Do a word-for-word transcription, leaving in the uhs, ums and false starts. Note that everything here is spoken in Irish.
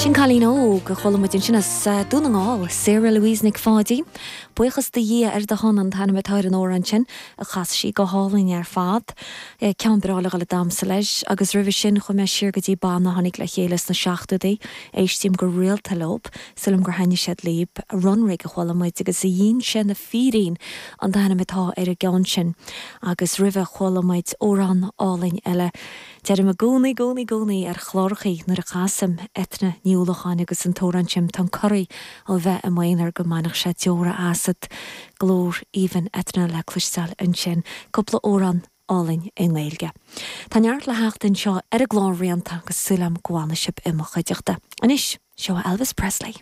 Sin cailín óg a chuala muid ansin as Dún na nGall, Sarah Louise Nic Pháidín. Buíochas do Dhia ar do shon an t-ainm atá ar an amhrán sin a chas sí go hálainn ar fad. Ceann breá le dhul ag damhsa leis, agus roimhe sin chuaigh mé siar go dtí banna a tháinig le chéile sna seachtóidí, éistím go rialta leo, sílim gur thaitnigh siad libh, Runrig a chuala muid agus a dhínse na fírín an t-ainm atá ar an gceann sin. Agus roimhe chuala muid amhrán álainn eile. Deirim i gcónaí gcónaí gcónaí ar chlárachaí nuair a chasaim Eithne Ní Uallacháin agus an t-amhrán sin tá corraí ó bheith i m'aonar go mbainfeadh sé deora asat glór aoibhinn Eithne le cloisteáil ansin cúpla amhrán álainn i nGaeilge. Tá neart le theacht anseo ar an gclár rianta agus súil agam go bhfanfaidh sibh i mo chuideachta. Anois seo Elvis Presley.